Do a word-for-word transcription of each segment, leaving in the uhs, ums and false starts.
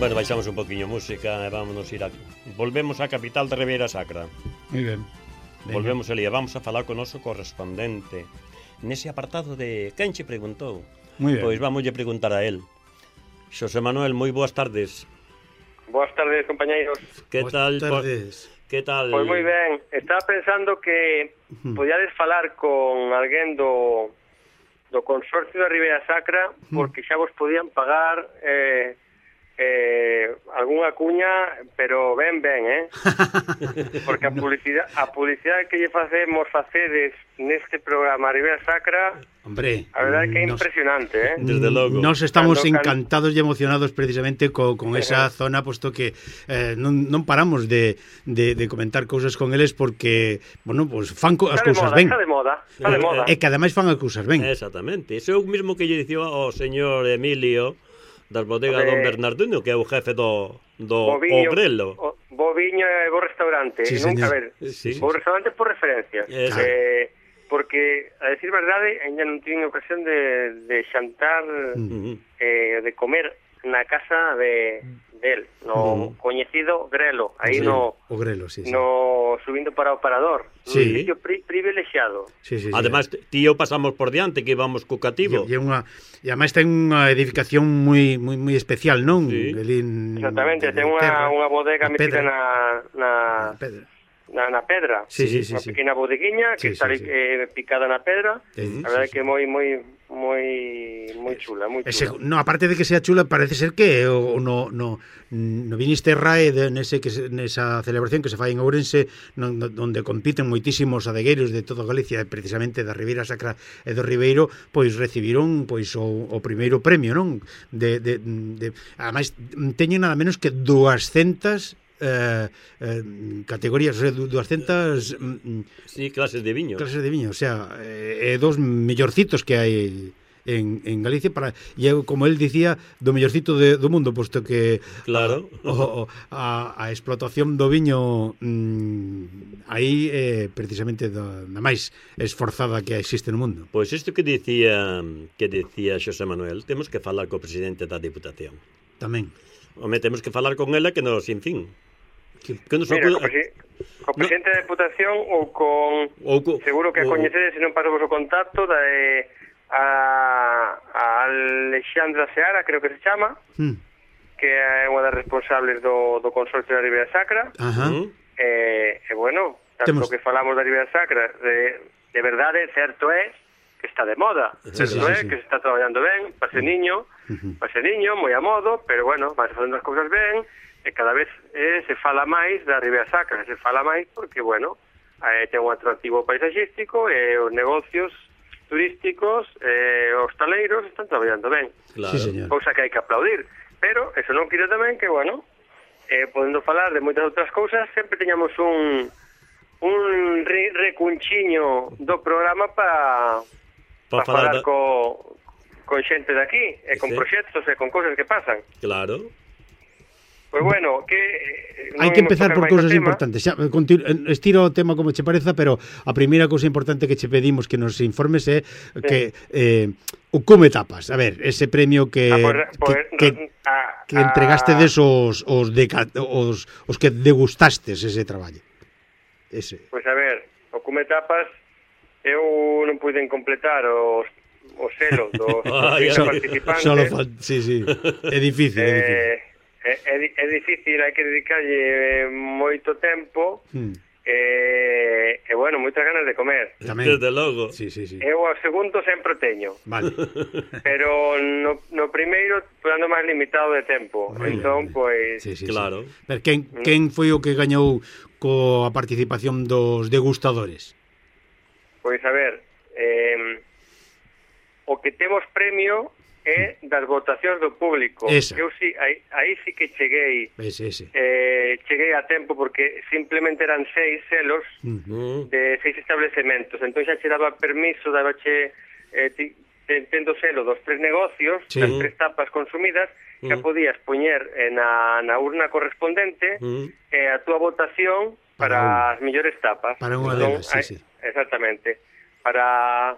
Bueno, baixamos un poquinho música e vámonos ir a... Volvemos á capital de Ribeira Sacra. Moi ben. Venga. Volvemos ali e vamos a falar con o noso correspondente nese apartado de quen che preguntou. Moi ben. Pois vamos lle preguntar a él. Xosé Manuel, moi boas tardes. Boas tardes, compañeiros. Que Boas tal? tardes. Que tal? Pois moi ben. Estaba pensando que podíades falar con alguén do do Consorcio da Ribeira Sacra porque xa vos podían pagar eh Eh, algunha cuña, pero ben, ben, eh? Porque a publicidade, a publicidade que lle facemos facedes neste programa Ribeira Sacra, hombre, a verdade que é nos, impresionante, eh? Desde logo. Nos estamos Cando, encantados e emocionados precisamente co, con esa zona, posto que eh, non, non paramos de, de, de comentar cousas con eles porque, bueno, pues fan co, as cousas ben. Está de moda, está de moda. E que ademais fan as cousas ben. Exactamente. Iso é o mismo que lle dicía ao señor Emilio das bodegas Hombre, Don Bernardino, que é o jefe do, do Boviño, o Grelo. o, Boviño é bo restaurante. Sí, Nunca, a señor. ver, Sí. bo restaurante por referencia. Eso. Eh, porque, a decir verdade, ainda non tive ocasión de, de xantar, Uh-huh. eh, de comer na casa de del, no Mm. coñecido Grelo, aí Sí, no o Grelo, sí, sí. no subindo para o Parador. Sí. Un sitio pri, privilexiado. Sí, sí, sí. Además, tío, pasamos por diante que íbamos co cativo. E, e, unha, e ademais ten unha edificación moi moi moi especial, non? Sí. Elín, Exactamente, de ten unha, terra, unha bodega na metida pedra. na, na, Na pedra. na, na pedra. Sí, sí, sí, Unha sí. pequena bodeguiña que Sí, está sí, ali, sí. eh, picada na pedra. Sí, A verdade sí, que sí. moi moi moi moi chula, moi Ese, chula. no, aparte de que sea chula, parece ser que o, no, no, no viniste RAE de, nese, que, se- nesa celebración que se fai en Ourense, non, no, onde compiten moitísimos adegueiros de toda Galicia, e precisamente da Ribeira Sacra e do Ribeiro, pois recibiron pois o, o primeiro premio, non? De, de, de, ademais, teñen nada menos que duascentas eh, eh, categorías, o sea, du- duascentas mm, Sí, clases de viño. clases de viño, o sea, eh, eh, dos mellorcitos que hai en, en Galicia para, e eu, como el dicía, do mellorcito de, do mundo, posto que Claro. a, o, o, a, a explotación do viño mm, aí é eh, precisamente da, da máis esforzada que existe no mundo. Pois isto que dicía que dicía Xosé Manuel, temos que falar co presidente da Diputación. Tamén. Home, temos que falar con ela que nos, en fin, que, que nos Mira, acuda... co, presi- co presidente da Deputación ou con... ou co- Seguro que a ou- coñecedes se non pasamos o contacto da eh, a, a Alexandra Seara, creo que se chama, Mm. que é unha das responsables do, do Consorcio da Ribeira Sacra. Ajá. Uh-huh. E, e bueno, tanto Temos- que falamos da Ribeira Sacra, de, de verdade, certo é que está de moda. Sí, certo sí, é sí, sí. que se está traballando ben, para ser niño, Ujú. para ser niño, moi a modo, pero bueno, vai facendo as cousas ben, e cada vez eh, se fala máis da Ribeira Sacra, se fala máis porque, bueno, eh, ten un atractivo paisaxístico e os negocios turísticos e eh, os taleiros están traballando ben. Claro. Sí, señor. Cousa que hai que aplaudir, pero eso non quira tamén que, bueno, eh, podendo falar de moitas outras cousas, sempre teñamos un un re, recunchiño do programa para Pa pa falar falar da- co, con xente de aquí, e con Sí. proxectos e con cousas que pasan. Claro. Pois bueno, que eh, Hai non que imos empezar tocar por máis o cousas tema. importantes. Xa, continu- estiro o tema como che pareza, pero a primeira cousa importante que che pedimos que nos informes é que eh, o como etapas. A ver, ese premio que Ah, pois, pois, que, que, a, que entregaste des os os, de, os os que degustastes ese traballo. Ese. Pois a ver, o como etapas eu non puiden completar os o selo dos Ai, dos ai. participantes. Solo fa... sí, sí. É difícil, é difícil. Eh, é, é, di- é difícil, hai que dedicarlle moito tempo Hmm. e, e bueno, moitas ganas de comer. Tamén. Desde logo. Sí, sí, sí. Eu ao segundo sempre o teño, Vale. pero no, no primeiro ando máis limitado de tempo. Moi ben, Entón, ben. pois, Sí, sí, Claro. sí. Pero quen, quen foi o que gañou coa participación dos degustadores? pois a ver, eh, o que temos premio é das votacións do público. Esa. Eu si, aí, aí sí que cheguei Ese, ese. eh, cheguei a tempo porque simplemente eran seis selos Mm. Mm. de seis establecementos. Entón xa che daba permiso, dabache eh, ti, te- tendo selo dos tres negocios, Sí. das tres tapas consumidas, xa Mm. podías poñer eh, na, na urna correspondente Mm. eh, a túa votación Para para, as mellores tapas. Para unha Entón, delas, sí, hai- sí. Exactamente. Para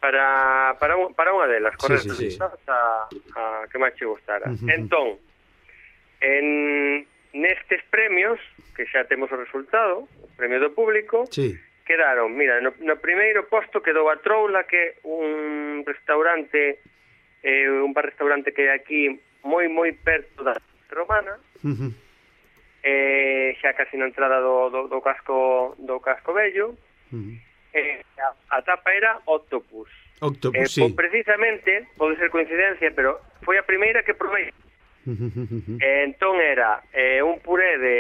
para para, un, para unha delas, correcto. sí, sí. A, a que máis che gustara. Ujú. Entón, En nestes premios, que xa temos o resultado, o premio do público, sí. quedaron, mira, no, no primeiro posto quedou a Troula, que é un restaurante, eh, un bar-restaurante que hai aquí moi, moi perto da Romana, Uh-huh. eh, xa casi na entrada do, do, do casco do casco vello. Uh-huh. eh, a, a tapa era Octopus. Octopus, eh, sí. po, precisamente, pode ser coincidencia, pero foi a primeira que provei. Uh-huh. Eh, entón era eh, un puré de...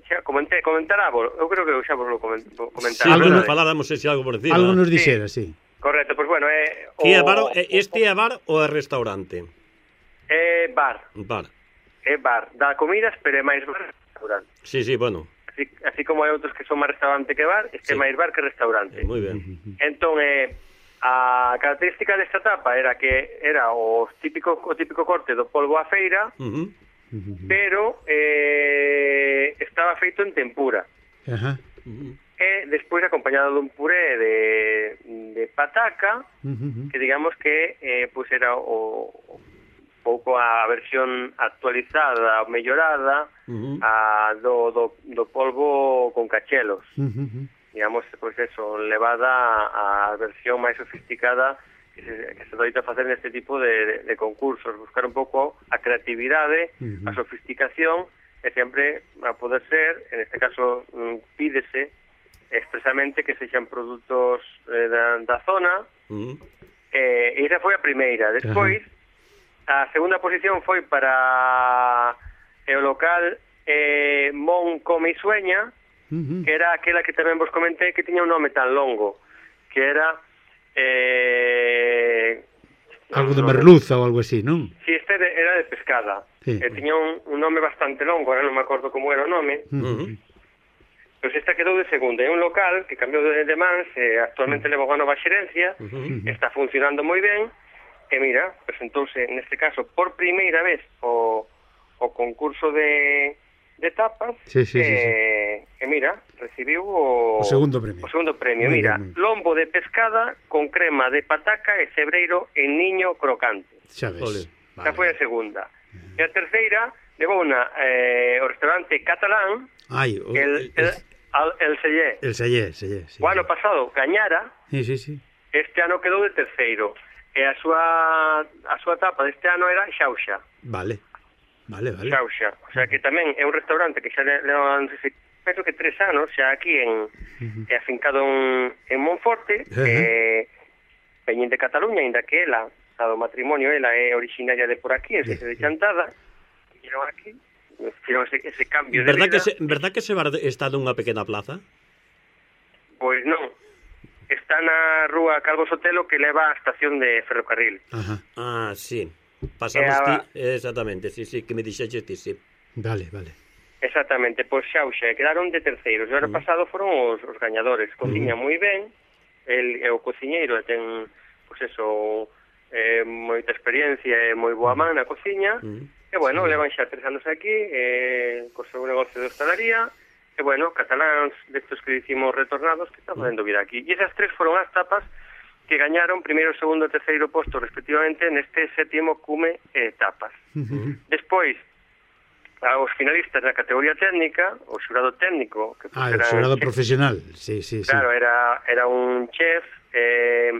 Xa comenté, comentarávos, eu creo que xa vos lo coment, Sí, comentara. bueno, no- faláramos ese algo por encima. Algo nos dixera, sí. Correcto, pois pues bueno, é... Que é bar, este é bar ou é restaurante? É bar, Bar. é bar. Dá comidas, pero é máis bar que restaurante. Sí, sí, bueno. Así, así como hai outros que son máis restaurante que bar, este é Sí. máis bar que restaurante. Moi ben. Entón, eh, a característica desta tapa era que era o típico o típico corte do polvo á feira, Uh -huh. pero eh, estaba feito en tempura. Ajá. Uh -huh. E despois acompañado dun puré de, de pataca, Uh-huh. que digamos que eh, pues era o, o pouco a versión actualizada ou mellorada Uh -huh. a do, do, do polvo con cachelos. Uh-huh. Digamos, pois pues eso, levada a versión máis sofisticada que se, que se doita facer neste tipo de, de, de concursos, buscar un pouco a creatividade, Uh-huh. a sofisticación, e sempre a poder ser, en este caso pídese expresamente que sexan produtos eh, da, da zona, Uh -huh. eh, e esa foi a primeira. Despois, uh-huh. a segunda posición foi para o local eh, Mon Come e Sueña, Uh-huh. que era aquela que tamén vos comentei que tiña un nome tan longo, que era eh, Algo de merluza ou algo así, non? si este de, era de pescada, Sí. e tiña un, un nome bastante longo, ahora non me acordo como era o nome. Uh-huh. Pois esta quedou de segunda. É un local que cambiou de, de mans, e actualmente leva unha nova xerencia, Uh -huh. está funcionando moi ben, e mira, presentouse neste caso por primeira vez o, o concurso de, de tapas, Sí, sí, e, sí, sí. e mira, recibiu o, O segundo premio. o segundo premio. Muy Mira, bien, muy bien. lombo de pescada con crema de pataca e cebreiro en niño crocante. Xa ves. Ole. Esta foi a segunda. E a terceira levou una, eh, o restaurante catalán, Ai, o, el, el, el, el Sellé. el sellé, sellé, sí. O ano pasado gañara, Sí, sí, sí. este ano quedou de terceiro. E a súa a súa tapa deste ano era Xauxa. Vale. Vale, vale. Xauxa. O sea que tamén é un restaurante que xa le, le non sei se penso que tres anos xa aquí en Uh-huh. é afincado en, en Monforte, Ajá. eh, veñen de Cataluña, ainda que ela, a do matrimonio, ela é originaria de por aquí, en Sese de Chantada, viñeron aquí, fixeron ese, ese cambio de Verdad vida. que se, verdad que ese bar está nunha pequena plaza? Pois non, está na rúa Calvo Sotelo que leva á estación de ferrocarril. Ajá. Ah, sí. Pasamos Eh, ti, exactamente, sí, sí, que me dixeches ti, sí. Vale, vale. Exactamente, pois Xauxa, quedaron de terceiros. O ano Mm. pasado foron os, os gañadores. Cociña moi ben, el é o cociñeiro, ten, pois eso, eh, moita experiencia e moi boa man na cociña. Mm. E bueno, levan xa tres anos aquí, eh, co seu negocio de hostalería. E bueno, cataláns destos que dicimos retornados que están facendo vida aquí. E esas tres foron as tapas que gañaron primeiro, segundo e terceiro posto respectivamente neste sétimo cume eh, tapas. Uh-huh. Despois, aos finalistas da categoría técnica, o xurado técnico, que Ah, pues, el era xurado chef, profesional. Sí, sí, sí. claro, era era un chef, eh,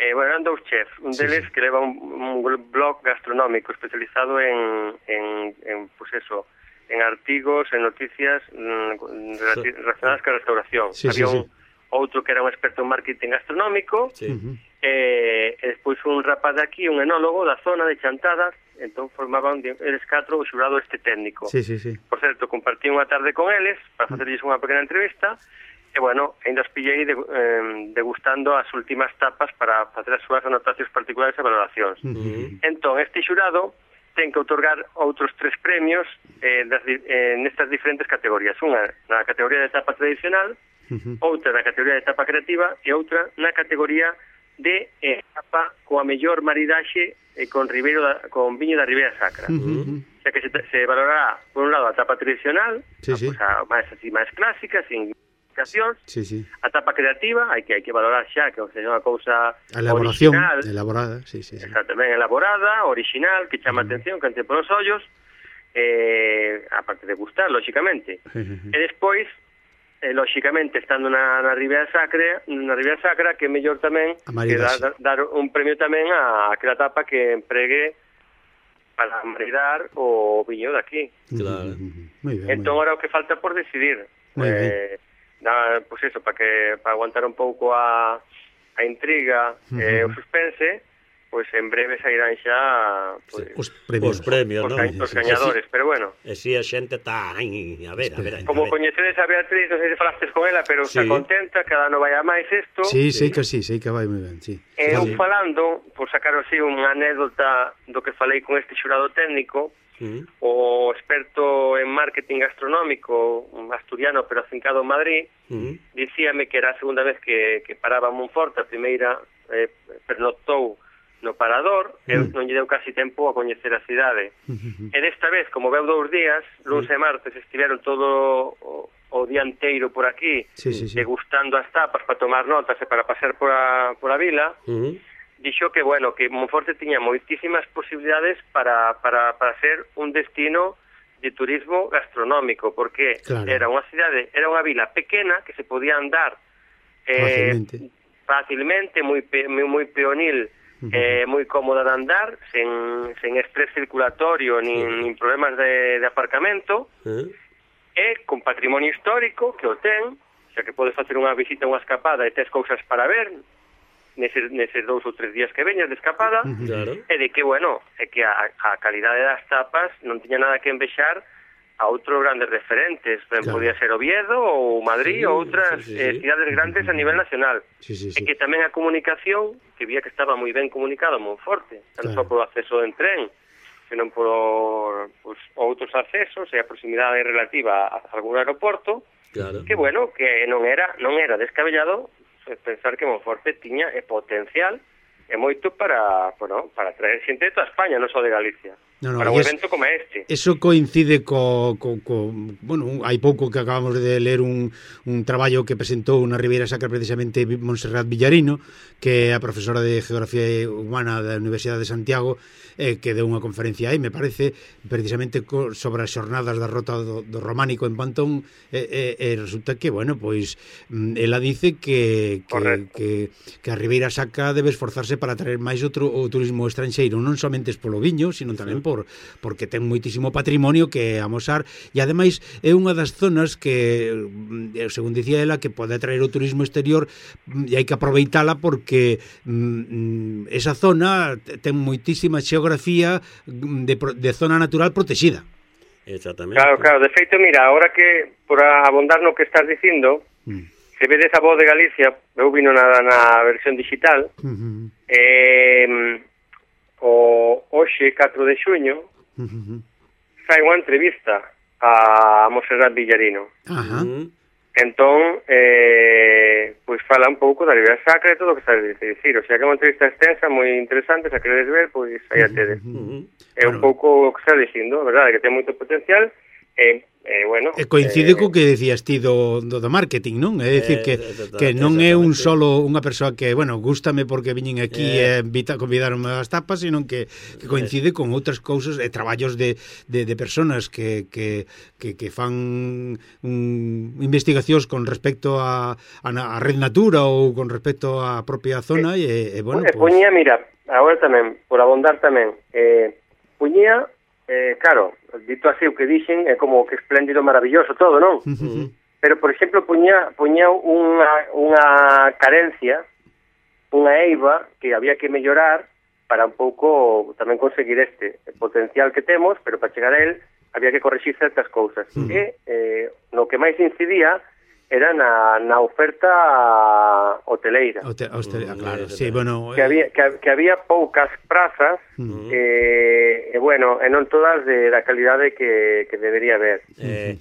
eh, bueno, eran dous chefs, un Sí, deles sí. que leva un, un blog gastronómico especializado en, en, en pues eso, en artigos, en noticias mm, relati- relacionadas con a restauración. Sí, Había sí, un sí. outro que era un experto en marketing gastronómico, Sí. Uh-huh. e, e despois un rapaz de aquí, un enólogo da zona de Chantada, entón formaban de, eles catro o xurado este técnico. Sí, sí, sí. Por certo, compartí unha tarde con eles para facerlles unha pequena entrevista e, bueno, ainda os pillei de, eh, degustando as últimas tapas para facer as súas anotacións particulares e valoracións. Uh-huh. Entón, este xurado ten que outorgar outros tres premios eh, das, di- eh, nestas diferentes categorías. Unha na categoría de tapa tradicional, Uh-huh. outra na categoría de tapa creativa e outra na categoría de eh, tapa coa mellor maridaxe eh, con Ribeiro da, con viño da Ribeira Sacra. Uh-huh. O sea que se, se valorará, por un lado, a tapa tradicional, Sí, a, sí. pues, a máis así máis clásica, sin modificacións, Sí, sí. a tapa creativa, hai que hai que valorar xa que seja unha cousa A elaboración, original, elaborada, sí, sí, sí. exactamente, elaborada, original, que chama Mm. atención, que ante polos ollos, eh, aparte de gustar, lóxicamente. E despois, eh, lóxicamente, estando na, na Ribera Sacra, na Ribera Sacra, que é mellor tamén que dar, dar un premio tamén a aquela tapa que empregue para maridar o viño daqui. Claro. Muy bien, entón, agora o que falta por decidir. Muy eh, na, pues eso, para que para aguantar un pouco a, a intriga e eh, o suspense, pois en breve sairán xa pues, os premios, os premios, os, non? ca os gañadores, pero bueno. E si a xente está, ai, a ver, a ver. Como a ver. coñecedes a Beatriz, non sei se falastes con ela, pero Sí. está contenta, cada ano vai a máis isto. Sí, sí, que sí, sí, que vai moi ben, sí. E eu Sí. falando, por sacar así unha anécdota do que falei con este xurado técnico, Mm. o experto en marketing gastronómico, un asturiano pero afincado en Madrid, Mm. dicíame que era a segunda vez que, que paraba en Monforte, a primeira eh, pernoctou no Parador, e non lle deu casi tempo a coñecer a cidade. E desta vez, como veu dous días, luns e martes, estiveron todo o, o día inteiro por aquí, Sí, sí, sí. degustando as tapas para tomar notas e para pasear por a, por a vila, Mm. dixo que, bueno, que Monforte tiña moitísimas posibilidades para, para, para ser un destino de turismo gastronómico, porque Claro. era unha cidade, era unha vila pequena que se podía andar eh, Fácilmente. fácilmente, moi, pe, moi, moi peonil, eh, moi cómoda de andar, sen, sen estrés circulatorio, nin, nin problemas de, de aparcamento, Mm. e con patrimonio histórico, que o ten, xa que podes facer unha visita, unha escapada, e tes cousas para ver, neses, neses dous ou tres días que veñas de escapada, Claro. e de que, bueno, é que a, a calidade das tapas non tiña nada que envexar a outros grandes referentes, ben, Claro. podía ser Oviedo ou Madrid Sí, ou outras sí, sí, eh, sí. cidades grandes a nivel nacional. Sí, sí, E sí. que tamén a comunicación, que vía que estaba moi ben comunicado Monforte, non Claro. só polo acceso en tren, senón por pues, outros accesos e a proximidade relativa a algún aeroporto, Claro. que bueno, que non era non era descabellado pensar que Monforte tiña e potencial e moito para, bueno, para traer xente de toda España, non só de Galicia. No, no, para e un es- evento como este. Eso coincide co, co, co bueno, un- hai pouco que acabamos de ler un, un traballo que presentou na Ribeira Sacra precisamente Montserrat Villarino, que é a profesora de Geografía Humana da Universidade de Santiago, eh, que deu unha conferencia aí, me parece, precisamente co, sobre as xornadas da Rota do, do Románico en Pantón, e, e, e resulta que, bueno, pois mm, ela dice que, que, Correcto. que, que a Ribeira Sacra debe esforzarse para traer máis outro o turismo estranxeiro, non somente polo viño, sino tamén por porque ten moitísimo patrimonio que amosar, e ademais é unha das zonas que, mm, según dicía ela, que pode atraer o turismo exterior, mm, e hai que aproveitala porque mm, esa zona ten moitísima xeografía mm, de, pro- de zona natural protexida. Exactamente. Claro, claro, de feito, mira, ahora que por abondar no que estás dicindo, Mm. se vedes a Voz de Galicia, eu vino na, na versión digital, Uh-huh. eh, o hoxe, catro de xuño, Uh-huh. fai unha entrevista a Montserrat Villarino. Ajá. Mm. Entón, eh, pois fala un pouco da Ribeira Sacra e todo o que sabes dicir. O sea, que é unha entrevista extensa, moi interesante, se a queredes ver, pois aí a tedes. Mm. É un pouco o que está dicindo, a verdade, que ten moito potencial, e, eh, bueno... E coincide eh, co que decías ti do, do, do marketing, non? É dicir que, Eh, que non é un exactamente. solo unha persoa que, bueno, gústame porque viñen aquí e Eh. invita, convidaronme as tapas, sino que, que coincide con outras cousas e traballos de, de, de personas que, que, que, que fan un, investigacións con respecto a, a, na- a Red Natura ou con respecto á propia zona e, e bueno, e pois... puñía, mira, agora tamén, por abondar tamén, eh, puñía, eh, claro, dito así o que dixen, é como que espléndido, maravilloso todo, non? Uh-huh. Pero, por exemplo, puñía, puñía unha, unha carencia, unha eiva que había que mellorar para un pouco tamén conseguir este potencial que temos, pero para chegar a él había que corregir certas cousas. Mm. E eh, no que máis incidía era na, na oferta hoteleira. Hoste- hoste- Mm, claro, eh, sí, bueno... Que había, que, que había poucas prazas Mm. eh, e, bueno, e non todas de, da calidade que, que debería haber. Eh,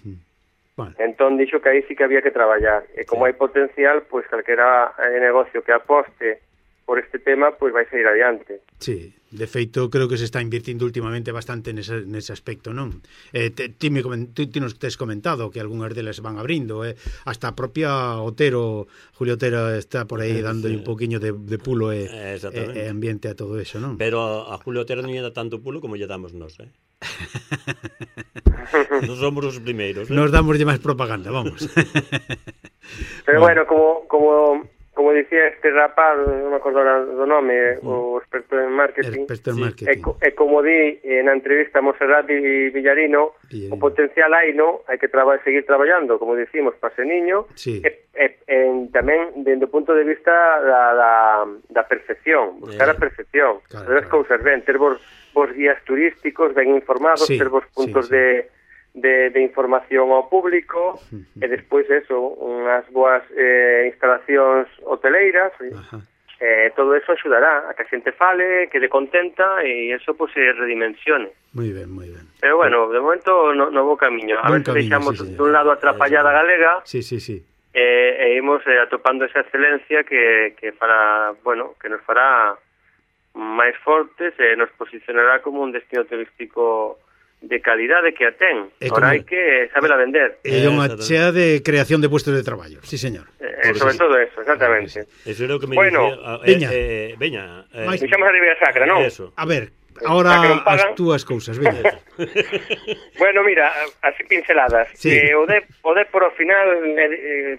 Bueno, Entón dixo que aí sí que había que traballar. E como Sí. hai potencial, pois calquera eh, negocio que aposte por este tema, pois vai sair adiante. sí, de feito creo que se está invirtindo últimamente bastante nese, nese aspecto, non? Eh, te, ti, me comen, ti, ti nos tes comentado que algunhas delas van abrindo, eh? Hasta a propia Otero, Julio Otero está por aí dándole un poquinho de, de pulo e, Eh, e, exactamente. e ambiente a todo eso, non? pero a Julio Otero non lle dá tanto pulo como lle damos nós, eh? Non somos os primeiros, eh? Nos damos de máis propaganda, vamos. Pero bueno, como como como dicía este rapaz, non me acordo ahora do nome, o experto en marketing, Experto en Sí. marketing. e, co- e como di eh, na entrevista a Monserrat e Villarino, Villarino. o potencial hai, no? Hai que traba, seguir traballando, como dicimos, para ese niño, Sí. e, e, en, tamén dende o punto de vista da, da, da perfección, buscar Eh, a perfección, claro, fazer as claro. cousas ben, ter vos, vos guías turísticos ben informados, Sí, ter vos puntos sí, sí. de De, de información ao público e despois eso, unhas boas eh, instalacións hoteleiras, Ajá. eh, todo eso axudará a que a xente fale, quede contenta e eso pues, se redimensione. Moi ben, moi ben. Pero bueno, de momento no, no bo camiño. A Bon ver se camiño, deixamos sí, señor. dun lado a trapallada galega Sí, sí, sí. eh, e imos eh, atopando esa excelencia que, que fará, bueno, que nos fará máis fortes e nos posicionará como un destino turístico de calidade que a ten. E Ahora como- hai que sabela vender. É unha Exactamente. chea de creación de puestos de traballo. Sí, señor. Eh, Por sobre si. todo eso, exactamente. Eso era o que me Bueno, dicía... eh, veña. eh, veña. Eh, Mais- Deixamos a Ribeira Sacra, non? Eso. A ver, Xa ahora que non pagan. as túas cousas, veña. Bueno, mira, así pinceladas. Sí. Eh, o de o de por o final eh, eh,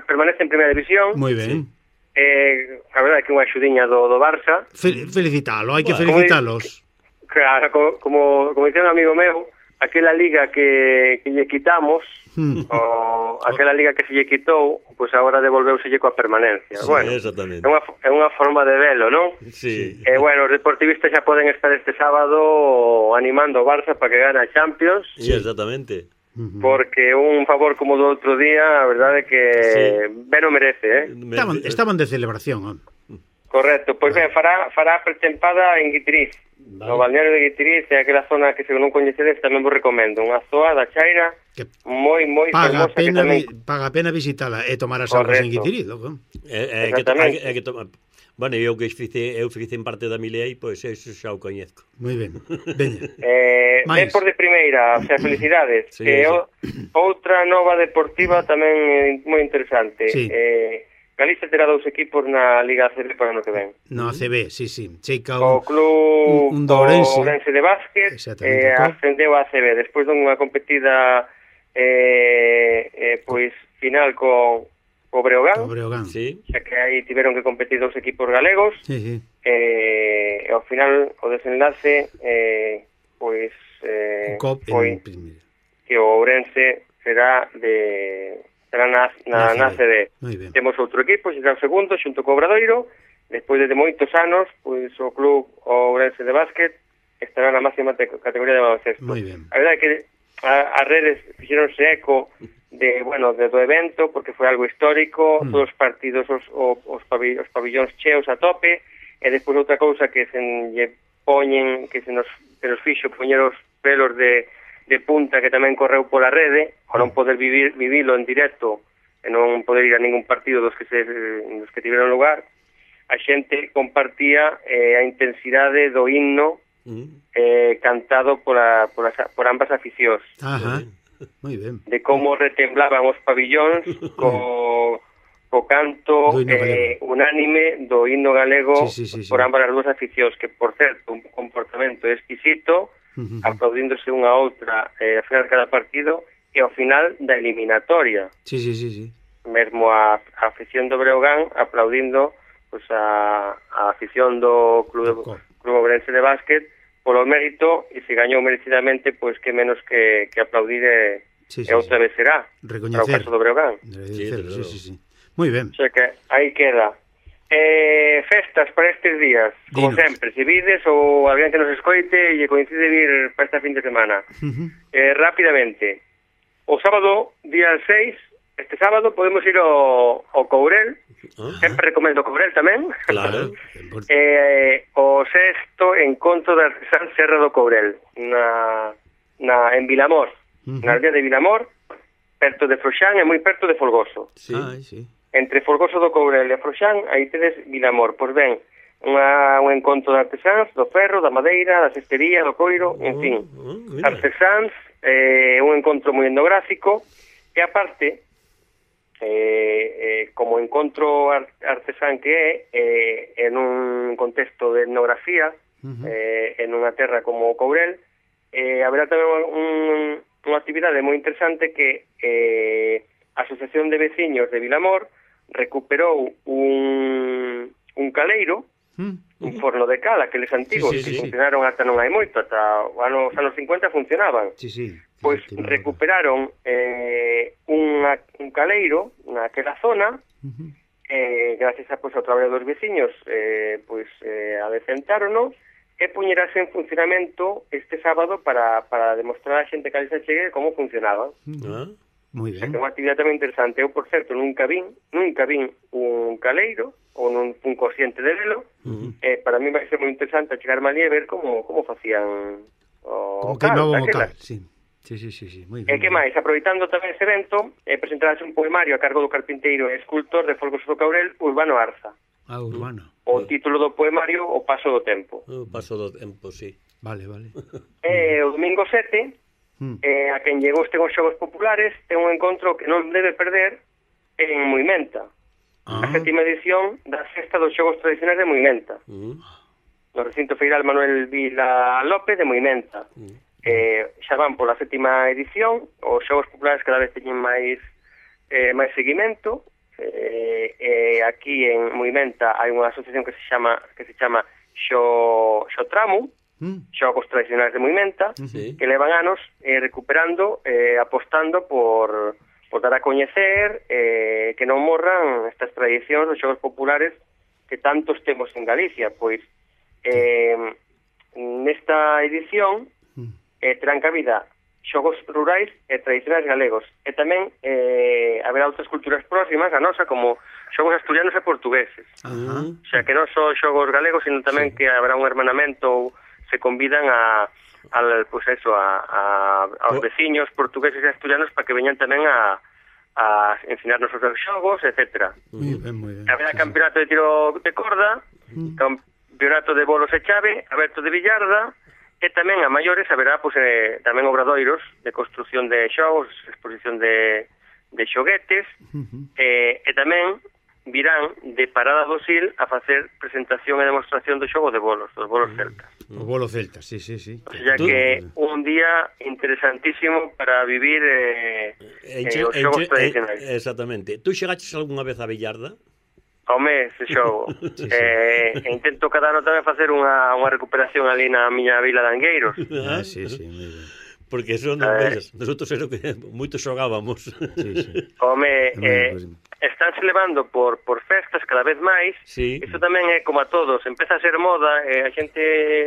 permanece en primeira división. Moi ben. Eh, a verdade é que unha axudiña do, do Barça. Fel felicitalo, hai que Bueno, felicitalos. Claro, co- como, como dicía un amigo meu, aquela liga que, que lle quitamos, Hmm. o aquela liga que se lle quitou, pois pues agora devolveuselle coa permanencia. Sí, bueno, exactamente. é unha, é unha forma de velo, non? Sí. E bueno, os deportivistas xa poden estar este sábado animando o Barça para que gane a Champions. Sí, exactamente. Ujú. Porque un favor como do outro día, a verdade é que Sí. ben o merece, eh? Me- Estaban, estaban de celebración, home. Correcto, pois ben, fará, fará pretempada en Guitiriz, Vale. no balneario de Guitiriz, é aquela zona que se non coñecedes tamén vos recomendo, unha zoa da Chaira Que moi, moi paga fermosa que pena tamén... vi- paga pena visitala e tomar as augas en Correcto. Guitiriz, loco. É, é que, to- hai, Exactamente. hai que tomar... Bueno, eu que fice, eu fice en parte da Milei, pois eso xa o coñezco. Moi ben. Veña. Eh, Mais. ben por de primeira, o sea, felicidades. Sí, que sí. o, outra nova deportiva tamén eh, moi interesante. Sí. Eh, Galicia terá dous equipos na Liga A C B para o ano que ven. No A C B, sí, sí. Cheica O un... club un- un do Ourense. o Ourense de básquet Exactamente, eh, co- ascendeu a A C B despois dunha competida eh, eh, pois final co, co Breogán, o Breogán. Sí. xa que aí tiveron que competir dous equipos galegos Sí, sí. eh, e ao final o desenlace eh, pois eh, Cop foi en primeira. que o Ourense será de será na, na, na A C B. Moi ben. Temos outro equipo, será o segundo, xunto co Obradoiro, despois de moitos anos, pois o club o Ourense de básquet estará na máxima te- categoría de baloncesto. Moi ben. A verdade é que a, as redes fixeronse eco de, bueno, de, do evento, porque foi algo histórico, Mm. todos os partidos, os, o- os, pavi, os pabillóns cheos a tope, e despois outra cousa que se lle poñen, que se nos, que nos fixo poñer os pelos de, de punta que tamén correu pola rede, ao non poder vivir, vivilo en directo e non poder ir a ningún partido dos que se dos que tiveron lugar, a xente compartía eh, a intensidade do himno Mm. eh, cantado pola, pola, por ambas aficións, Ajá. Moi ben. de como retemblaban os pabillóns co, co canto Do himno eh, galego. unánime do himno galego Sí, sí, sí, por sí. ambas as dúas aficións, que por certo un comportamento exquisito, Ujú. aplaudíndose unha a outra eh, ao final de cada partido e ao final da eliminatoria, Sí, sí, sí, sí. mesmo a, a afición do Breogán aplaudindo pues, a, a afición do Club, Do Cop. Club Ourense de básquet polo mérito, e se gañou merecidamente, pois que menos que, que aplaudir e, Sí, sí, e outra sí. vez será para o Recoñecer. caso do Breogán. Agradecer, Sí, sí, sí, sí. Moi ben. O sea que aí queda. Eh, festas para estes días, como Dinos. sempre, se vides ou alguén que nos escoite e lle coincide vir para esta fin de semana. Ujú. Eh, rápidamente, o sábado, día seis, este sábado podemos ir ao, ao Courel, Ah, sempre recomendo Courel tamén. claro. eh, o sexto encontro de artesán Serra do Courel, na, na, en Vilamor, Ujú. na aldea de Vilamor, perto de Froxán e moi perto de Folgoso. Sí. Ai, sí. Entre Folgoso do Courel e Froxán, aí tedes Vilamor. Pois ben, unha, un encontro de artesáns, do ferro, da madeira, da cestería, do coiro, en fin. Oh, oh, mira. Artesáns, eh, un encontro moi etnográfico, e aparte, eh, eh, como encontro ar- artesán que é, eh, en un contexto de etnografía, Ujú. eh, en unha terra como o Courel, eh, haberá tamén un, unha actividade moi interesante que eh, a Asociación de Veciños de Vilamor recuperou un, un caleiro, mm. un forno de cal, aqueles antigos, sí, sí, que sí, funcionaron ata non hai moito, ata os anos cincuenta funcionaban. Sí, sí. Pois recuperaron eh, unha, un caleiro naquela zona, uh-huh. eh, gracias a, pois, ao traballo dos veciños, eh, pois eh, adecentárono, e puñerase en funcionamento este sábado para, para demostrar a xente que ali se chegue como funcionaba. Uh-huh. Moi ben. É unha actividade tamén interesante. Eu, por certo, nunca vin, nunca vin un caleiro ou non fun consciente de velo. Uh-huh. Eh, para mí vai ser moi interesante chegarme ali e ver como, como facían o como cal. Como que cal, sí. Sí, sí, sí, sí, moi ben. E que máis, aproveitando tamén ese evento, eh, presentarase un poemario a cargo do carpinteiro e escultor de Folgoso do Caurel, Urbano Arza. Ah, Urbano. O título do poemario, O Paso do Tempo. O Paso do Tempo, sí. Vale, vale. E o domingo sete, mm. eh, a quen llegou este aos Xogos Populares, ten un encontro que non debe perder en Moimenta. Ah. A sétima edición da sexta dos Xogos Tradicionais de Moimenta. Mm. No recinto feiral Manuel Vila López de Moimenta. Mm. Eh, xa van pola sétima edición, os Xogos Populares cada vez teñen máis eh, máis seguimento. Eh, eh, aquí en Moimenta hai unha asociación que se chama que se chama Xo, Xotramu, mm. Xogos Tradicionais de Moimenta, sí. que levan anos eh, recuperando, eh, apostando por, por dar a coñecer eh, que non morran estas tradicións dos Xogos Populares que tantos temos en Galicia. Pois eh, nesta edición eh, terán cabida xogos rurais e tradicionais galegos, e tamén eh, haberá outras culturas próximas a nosa, como xogos asturianos e portugueses. Uh-huh. O sea, que non só xogos galegos, sino tamén sí. que habrá un hermanamento ou se convidan a, a pues eso, a, a, aos veciños portugueses e asturianos para que veñan tamén a, a ensinarnos os xogos, etcétera. Muy ben, muy ben. Haberá sí, campeonato sí. de tiro de corda, uh-huh. campeonato de bolos e chave, aberto de billarda. E tamén a maiores haberá pues, eh, tamén obradoiros de construción de xogos, exposición de, de xoguetes, uh-huh. eh, e tamén virán de Parada do Sil a facer presentación e demostración do xogo de bolos, dos bolos celtas. O bolo celta, sí, sí, sí. O sea que un día interesantísimo para vivir eh, enche, eh, os xogos enche, tradicionais. Eh, exactamente. Tú xegaches algunha vez a Billarda? Home, ese xogo. sí, sí. Eh, intento cada ano tamén facer unha, unha recuperación ali na miña vila de Angueiros. Ah, sí, sí, moi ben. Porque eso non eh, ves, nosotros era que moito xogábamos. Sí, sí. Home, eh, estánse levando por, por festas cada vez máis. Sí. Iso tamén é como a todos, empeza a ser moda, eh, a xente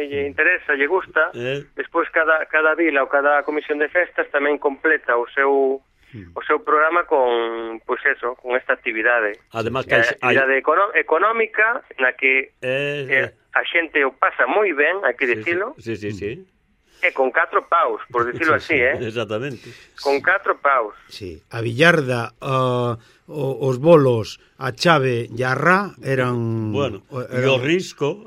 lle interesa, lle gusta. Eh. Despois cada, cada vila ou cada comisión de festas tamén completa o seu o seu programa con, pois pues eso, con esta actividade. Además que hai, actividade hay... económica na que eh, eh, a xente o pasa moi ben, hai que sí, dicilo. Sí, sí, sí. E con catro paus, por dicilo sí, así, sí, eh? Exactamente. Con catro paus. Sí, a billarda, uh, os bolos, a chave e a ra eran... Bueno, eran... e o risco...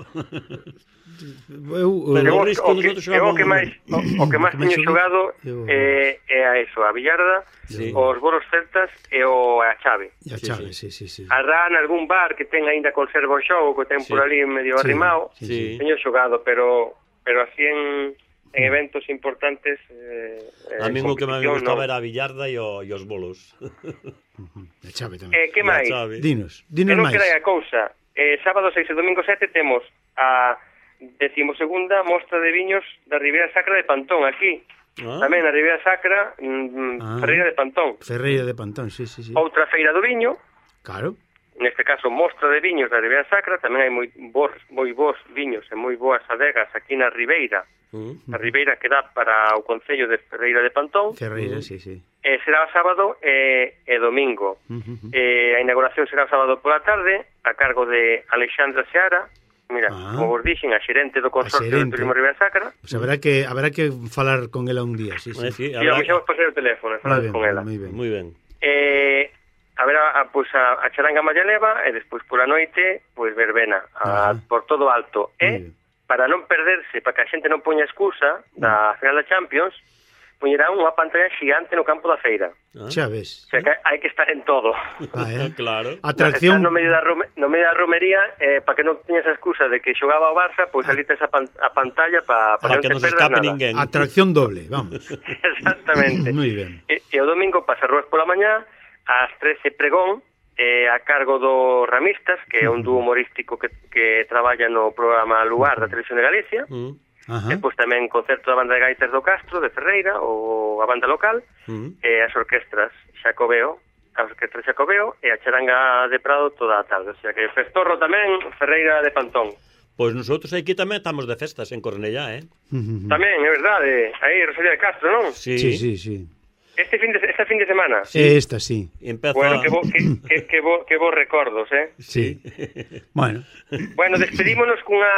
Eu, pero o, risco o, que, o que máis o, o que máis teño xogado é, é a eso, a billarda, sí. os bolos celtas e o a chave. E a chave, sí, sí, sí. A ra en algún bar que ten aínda conserva o xogo, que ten sí. por ali medio sí. arrimado, sí, sí. teño xogado, pero pero así en en eventos importantes eh, a mí o que me gustaba no. era a billarda e, o, e os bolos. A chave tamén. Eh, que máis? Dinos, dinos máis. Que non queda a cousa. Eh, sábado seis e domingo sete temos a decimosegunda mostra de viños da Ribeira Sacra de Pantón, aquí. Ah. Tamén na Ribeira Sacra, mm, ah. Ferreira de Pantón. Ferreira de Pantón, sí, sí, sí. Outra feira do viño. Claro. Neste caso, mostra de viños da Ribeira Sacra. Tamén hai moi bons, moi bons viños e moi boas adegas aquí na Ribeira. Uh-huh. A Ribeira que dá para o concello de Ferreira de Pantón. Ferreira, uh-huh. sí, sí. E será sábado e, e domingo. Uh-huh. E a inauguración será sábado pola tarde, a cargo de Alexandra Seara. Mira, ah. como vos dixen, a xerente do Consorcio de Turismo Ribeira Sacra. Pues haberá que haberá que falar con ela un día, sí, sí. Pues sí, habrá... E vamos a pasar o teléfono e falar con ela. Moi ben, moi ben. Eh, haberá a, pues, a, a charanga Mallaleva e despois pola noite, pois pues, verbena a, por todo alto. E para non perderse, para que a xente non poña excusa da final da Champions, poñerán unha pantalla xigante no campo da feira. Ah. Xa ves. O sea, que hai que estar en todo. Ah, eh? Claro. Atracción. Estás no medio da, rome, no medio da romería, eh, para que non teñas a excusa de que xogaba o Barça, pois ali tes a, pan, a pantalla para pa Para que que non non te se perdas escape nada. ninguén. Atracción doble, vamos. Exactamente. Muy ben. E, e o domingo pasa Ruas pola mañá, ás trece pregón, eh, a cargo do Ramistas, que é un dúo humorístico que, que traballa no programa Lugar da Televisión de Galicia. Mm. Ajá. E pois tamén concerto da banda de gaitas do Castro, de Ferreira, ou a banda local, Mm. e as orquestras Xacobeo, as orquestras Xacobeo, e a charanga de Prado toda a tarde. O sea que Festorro tamén, Ferreira de Pantón. Pois nosotros aquí tamén estamos de festas en Cornellá, eh? Tamén, é verdade, aí Rosalía de Castro, non? Sí, Sí, sí, sí. Este fin de, este fin de semana. Sí. Esta sí. Empeza... Bueno, que, bo, que, que, que, bo, que vos recordos, eh? Sí. Bueno. Bueno, despedímonos cunha,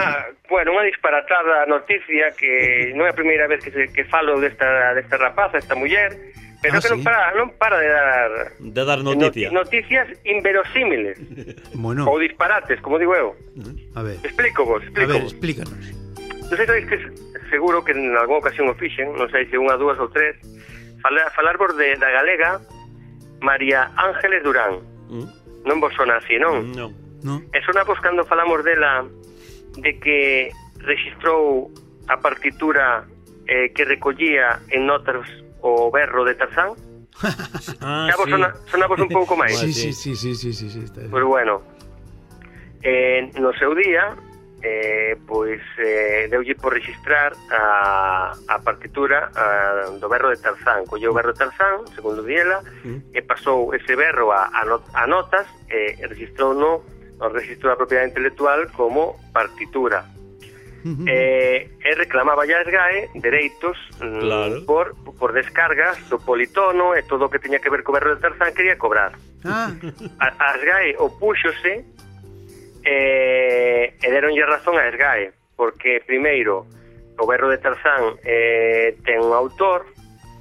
bueno, unha disparatada noticia que non é a primeira vez que, se, que falo desta, desta rapaza, esta muller, pero Ah, que non sí? para, non para de dar De dar noticia. not- noticias inverosímiles, Bueno, ou disparates, como digo eu. a ver. Explico vos, A explico ver, vos. explícanos. Non sei sabéis que seguro que en algunha ocasión o fixen, non sei se unha, dúas ou tres, falar, falarvos de, da galega María Ángeles Durán. Mm. Non vos sona así, non? Non. ¿No? E sonamos cando falamos dela de que registrou a partitura eh, que recollía en notas o berro de Tarzán. Ah, Xa vos sí. sona, sonamos un pouco máis. Sí, sí. sí, sí, sí, sí, sí, sí, está bien. Pois bueno, eh, no seu día, eh, pois eh, deulle por registrar a, a partitura a, do berro de Tarzán. Colleu o berro de Tarzán, segundo diela, Mm. e pasou ese berro a, a, not, a notas e registrou no, no registro da propiedade intelectual como partitura. Ujú. Eh, e reclamaba ya a SGAE dereitos mm, Claro. por, por descargas do politono e todo o que teña que ver co berro de Tarzán quería cobrar. Ah, A, a SGAE opúxose e, e deronlle razón a SGAE, porque primeiro o berro de Tarzán eh, ten un autor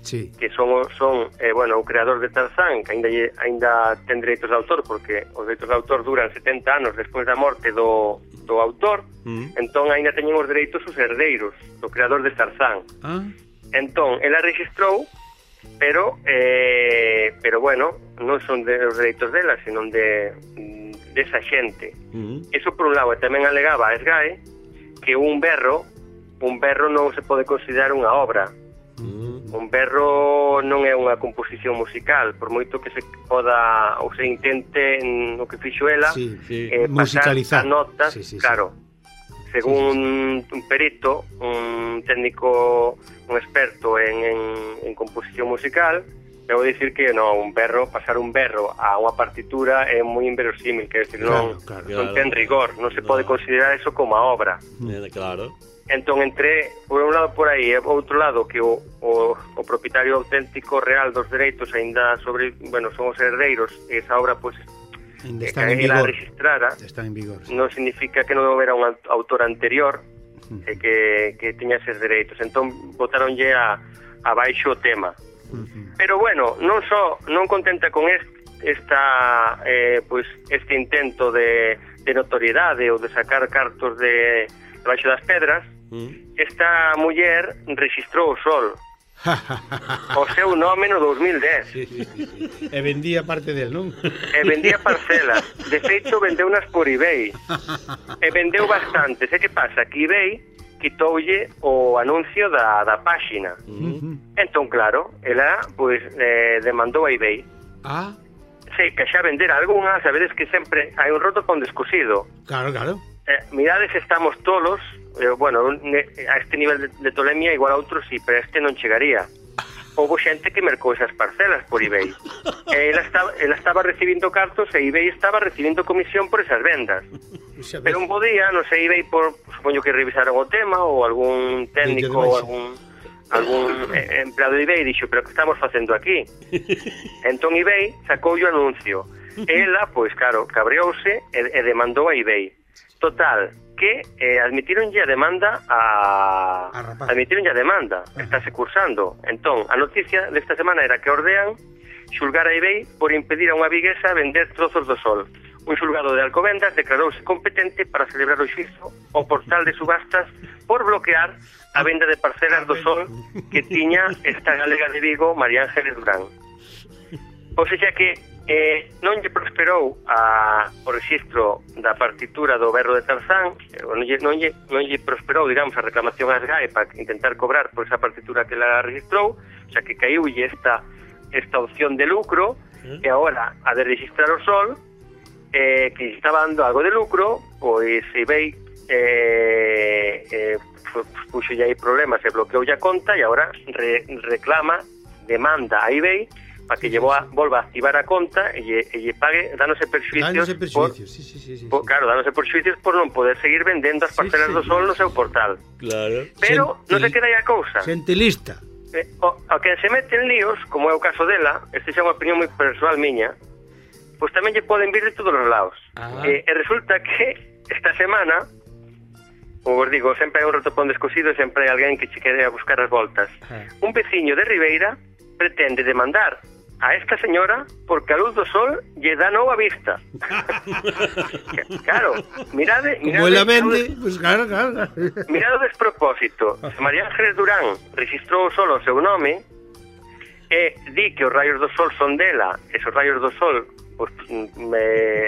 sí. que son, o- son eh, bueno, o creador de Tarzán, que aínda, lle- aínda ten dereitos de autor, porque os dereitos de autor duran setenta anos despois da morte do, do autor. Mm. Entón aínda teñen os dereitos os herdeiros do creador de Tarzán. Ah, Entón, ela registrou, pero eh, pero bueno, non son de os dereitos dela, senón de desa xente. Mm. Eso por un lado, e tamén alegaba a SGAE que un berro, un berro non se pode considerar unha obra. Mm. Un berro non é unha composición musical, por moito que se poda ou se intente no que fixo ela, sí. Sí. eh, pasar Musicalizar. a notas, Sí, sí, sí. claro. Según un perito, un técnico, un experto en, en, en composición musical, debo dicir que no, un berro, pasar un berro a unha partitura é moi inverosímil, que decir, non, Claro, claro. non Claro. ten rigor, non se No. pode considerar eso como a obra. Eh, claro. Entón, entre, por un lado por aí, e por outro lado, que o, o, o propietario auténtico real dos dereitos aínda sobre, bueno, son os herdeiros, e esa obra, pois, Ainda que están en ela vigor. registrara, Están en vigor. Sí. non significa que non houbera un autor anterior e que, que teña eses dereitos. Entón, botaronlle a, a baixo o tema. Ujú. Pero bueno, non só non contenta con est, esta eh, pois este intento de, de notoriedade ou de sacar cartos de debaixo das pedras, Mm. esta muller registrou o sol, o seu nome no dos mil dez, Sí, sí, sí, sí. E vendía parte del, non? e vendía parcelas. De feito, vendeunas por eBay, e vendeu bastantes. E que pasa? Que eBay quitoulle o anuncio da, da páxina. Mm. Entón, claro, ela pois eh, demandou a eBay. Ah, Sí, que xa vender algunha, sabedes que sempre hai un roto con descosido. claro, claro. Eh, mirades, estamos tolos, eh, bueno, ne, a este nivel de, de tolemia igual a outros sí, pero a este non chegaría. Houve xente que mercou esas parcelas por eBay. E ela estaba, ela estaba recibindo cartos e eBay estaba recibindo comisión por esas vendas. Xa ves. Pero un bo día, non sei, eBay, por, supoño que revisaron o tema, ou algún técnico, Dille de ou baixo. algún algún eh, empleado de eBay dixo, pero que estamos facendo aquí? Entón eBay sacou o anuncio. Ela, pois claro, cabreouse e, e demandou a eBay. Total, que eh, admitironlle a demanda a... A rapaz. admitironlle a demanda, estáse cursando. Entón, a noticia desta semana era que ordean xulgar a eBay por impedir a unha viguesa vender trozos do sol. un xulgado de Alcobendas declarouse competente para celebrar o xuízo ao portal de subastas por bloquear a venda de parcelas do sol que tiña esta galega de Vigo, María Ángeles Durán. Ou seja que eh, non lle prosperou a, o registro da partitura do berro de Tarzán, non lle, non, lle, non lle prosperou, digamos, a reclamación ás G A E para intentar cobrar por esa partitura que la registrou, o sea que caiulle esta, esta opción de lucro, e agora a de registrar o sol, eh, que estaba dando algo de lucro, pois eBay eh, eh, puxo ya aí problemas, se bloqueou a conta e agora re, reclama, demanda a eBay para que sí, llevó a, volva a activar a conta e lle, e lle pague dándose perxuicios, dándose perxuicios, sí, sí, sí, sí, por, claro, dándose perxuicios por non poder seguir vendendo as parcelas sí, sí, do sol no seu portal. Claro. Pero Xente, non se queda aí a cousa. Xentilista. Eh, o, o que se mete en líos, como é o caso dela, este xa é unha opinión moi persoal miña, pois tamén lle poden vir de todos os lados. Ah. E, e resulta que esta semana, como vos digo, sempre hai un rotopón descosido e sempre hai alguén que che quere a buscar as voltas. Ah. Un veciño de Ribeira pretende demandar a esta señora porque a luz do sol lle dá nova vista. Claro, mirade, mirade... Como ela vende, pois pues, claro, claro. Mirade o despropósito. María Ángeles Durán registrou solo o seu nome e di que os rayos do sol son dela, e os rayos do sol pues, me,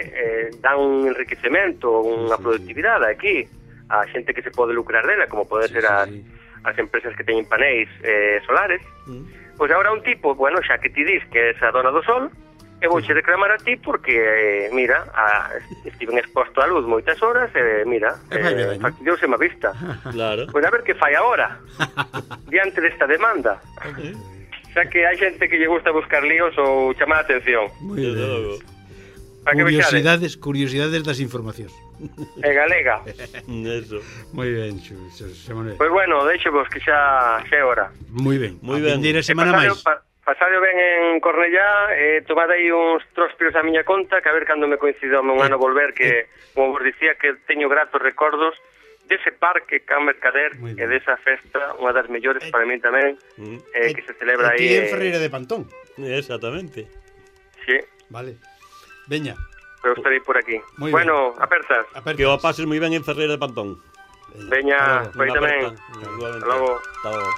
eh, dan un enriquecemento, unha sí, sí, productividade sí. Aquí a xente que se pode lucrar dela, como pode sí, ser as, sí, sí. as empresas que teñen panéis eh, solares. Mm. Pois agora un tipo, bueno, xa que ti dis que é a dona do sol, e vouche reclamar a ti porque, eh, mira, a, estiven exposto á luz moitas horas e, mira, eh, faciliouse má vista. Claro. Pois a ver que fai agora, diante desta demanda. Xa que hai xente que lle gusta buscar líos ou chamar a atención. Moi ben. Curiosidades, curiosidades das informacións. E galega. Eso. Moi ben, Xosé Manuel. Pois bueno, deixo vos que xa xa é hora. Moi ben. Moi ben. A semana máis. Pa, pasado ben en Cornellá, eh, tomade aí uns trospiros a miña conta, que a ver cando me coincido un ano volver, que, como vos dicía, que teño gratos recordos dese parque Can Mercader e desa festa, unha das mellores para mí tamén, eh, que se celebra aí. Aquí en Ferreira de Pantón. Exactamente. Sí. Vale. Veña. Eu estarei por aquí. Muy bueno, bien. apertas. apertas. Que o pases moi ben en Ferreira de Pantón. Veña, foi tamén. Hasta logo. Hasta logo.